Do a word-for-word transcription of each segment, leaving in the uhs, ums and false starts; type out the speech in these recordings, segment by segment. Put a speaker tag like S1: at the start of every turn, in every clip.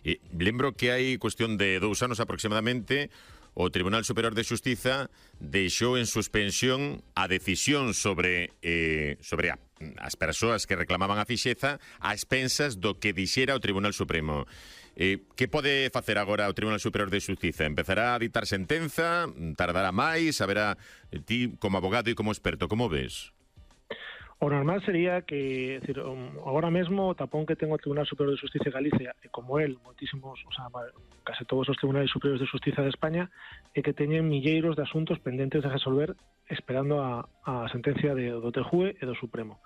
S1: E lembro que hai cuestión de dous anos aproximadamente o Tribunal Superior de Xustiza deixou en suspensión a decisión sobre eh, sobre a, as persoas que reclamaban a fixeza a expensas do que dixera o Tribunal Supremo. Eh, que pode facer agora o Tribunal Superior de Xustiza? Empezará a dictar sentenza? Tardará máis? Haberá, ti como abogado e como experto, como ves?
S2: O normal sería que, decir, agora mesmo o tapón que ten o Tribunal Superior de Xustiza de Galicia, e como el, moitísimos, o sea, case todos os Tribunais Superiores de Xustiza de España, é que teñen milleiros de asuntos pendentes de resolver esperando a, a sentencia de, do T J U E e do Supremo.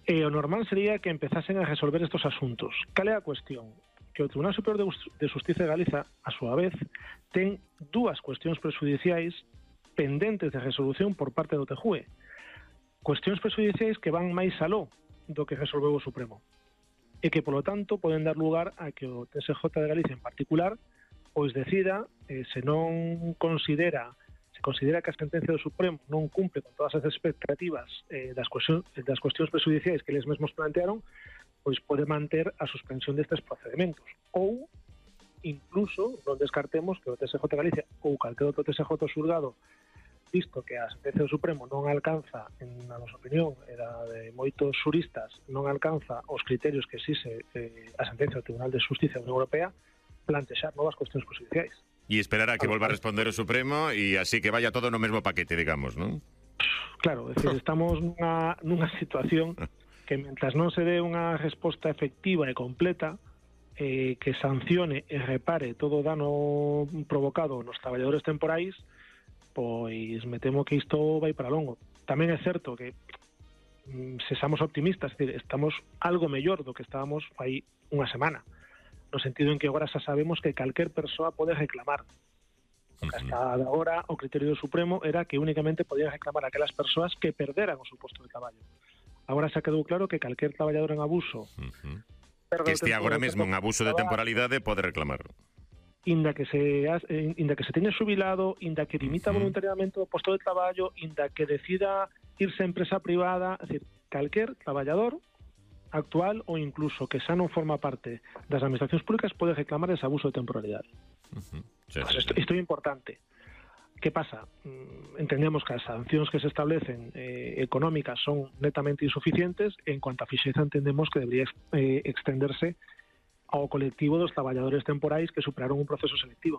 S2: E o normal sería que empezasen a resolver estos asuntos. Cal é a cuestión? Que o Tribunal Superior de Xustiza de Galiza, a súa vez, ten dúas cuestións prexudiciais pendentes de resolución por parte do T J U E. Cuestións prexudiciais que van máis aló do que resolveu o Supremo. E que, polo tanto, poden dar lugar a que o T S J de Galicia en particular pois decida, eh, se non considera se considera que a sentencia do Supremo non cumple con todas as expectativas eh, das, cuestións, das cuestións prexudiciais que eles mesmos plantearon, pois pode manter a suspensión destes procedementos. Ou, incluso, non descartemos que o T S J de Galicia ou calquer outro T S J xulgado, visto que a sentencia do Supremo non alcanza, en a nosa opinión, era de moitos xuristas, non alcanza os criterios que exixe eh, a sentencia do Tribunal de Xustiza da Unión Europea, plantexar novas cuestións prexudiciais.
S1: E esperar a que volva a responder o Supremo e así que vaya todo no mesmo paquete, digamos, non?
S2: Claro, é dicir, estamos nunha, nunha situación que mentras non se dé unha resposta efectiva e completa eh, que sancione e repare todo o dano provocado nos traballadores temporais, pois me temo que isto vai para longo. Tamén é certo que se somos optimistas, es decir, estamos algo mellor do que estábamos aí unha semana, no sentido en que agora xa sabemos que calquer persoa pode reclamar. Porque hasta agora o criterio do Supremo era que únicamente podían reclamar aquelas persoas que perderan o seu posto de traballo. Agora xa quedou claro que calquer traballador en abuso
S1: uh-huh. que este agora mesmo en abuso de temporalidade pode reclamar.
S2: Inda que se inda que se teña xubilado, inda que dimita uh-huh. voluntariamente o posto de traballo, inda que decida irse a empresa privada, é dicir, calquer traballador actual ou incluso que xa non forma parte das administracións públicas pode reclamar ese abuso de temporalidade. Uh-huh. Sí, pues sí, isto, isto é importante. ¿Qué pasa? Entendemos que as sancións que se establecen eh, económicas son netamente insuficientes. En cuanto a fixeza, entendemos que debería eh, extenderse ao colectivo dos traballadores temporais que superaron un proceso selectivo.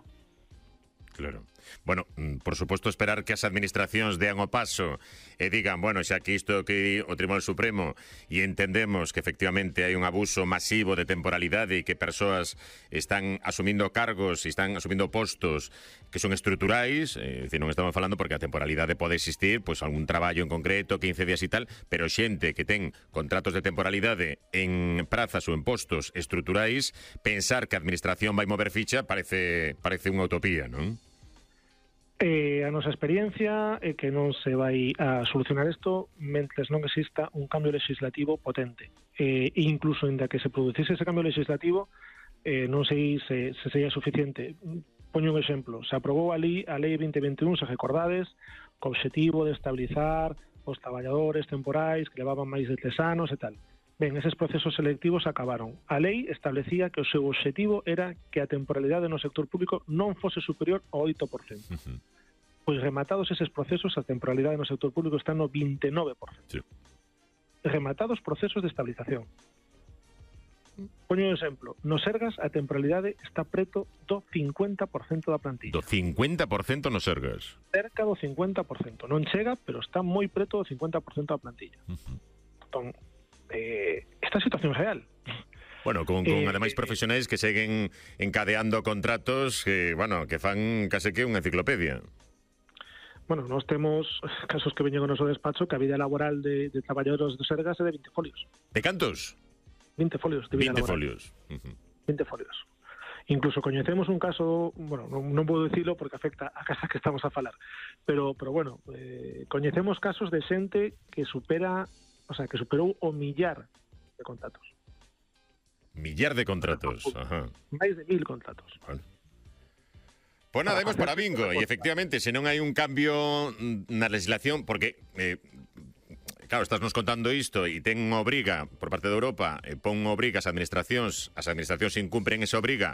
S1: Claro. Bueno, por suposto, esperar que as administracións dean o paso e digan, bueno, xa que isto que o Tribunal Supremo e entendemos que efectivamente hai un abuso masivo de temporalidade e que persoas están asumindo cargos e están asumindo postos que son estruturais, é dicir, non estamos falando porque a temporalidade pode existir, pois algún traballo en concreto, quince días e tal, pero xente que ten contratos de temporalidade en prazas ou en postos estruturais, pensar que a administración vai mover ficha parece parece unha utopía, non?
S2: Eh, a nosa experiencia é que non se vai a solucionar isto mentres non exista un cambio legislativo potente. Eh, incluso inda que se producise ese cambio legislativo, eh, non sei se, se sería suficiente. Poño un exemplo. Se aprobou a lei, a lei veinte veintiún, se recordades, co obxectivo de estabilizar os traballadores temporais que levaban máis de tres anos e tal. Ben, eses procesos selectivos acabaron. A lei establecía que o seu obxectivo era que a temporalidade no sector público non fose superior ao oito por cento. Uh-huh. Pois rematados eses procesos, a temporalidade no sector público está no vinte e nove por cento. Sí. Rematados procesos de estabilización. Poño un exemplo. No Sergas a temporalidade está preto do cincuenta por cento da plantilla.
S1: Do cincuenta por cento no Sergas?
S2: Cerca do cincuenta por cento. Non chega, pero está moi preto do cincuenta por cento da plantilla. Uh-huh. Entón, Eh, esta situación real.
S1: Bueno, con, con eh, ademais profesionais que seguen encadeando contratos que, bueno, que fan case que unha enciclopedia.
S2: Bueno, nós temos casos que veñen ao noso despacho que a vida laboral de, de traballadores do Sergas é de vinte folios.
S1: De cantos?
S2: vinte folios de vida
S1: vinte
S2: laboral.
S1: folios. Uh-huh.
S2: vinte folios. Incluso coñecemos un caso, bueno, non, non podo dicilo porque afecta a casa que estamos a falar, pero, pero bueno, eh, coñecemos casos de xente que supera O sea, que superou o millar de contratos.
S1: Millar de contratos, ajá.
S2: Máis de mil contratos.
S1: Vale. Pois nada, imos para bingo. E efectivamente, se non hai un cambio na legislación, porque, eh, claro, estás nos contando isto e ten unha obriga por parte de Europa, e pon unha obriga ás administracións, as administracións incumpren esa obriga,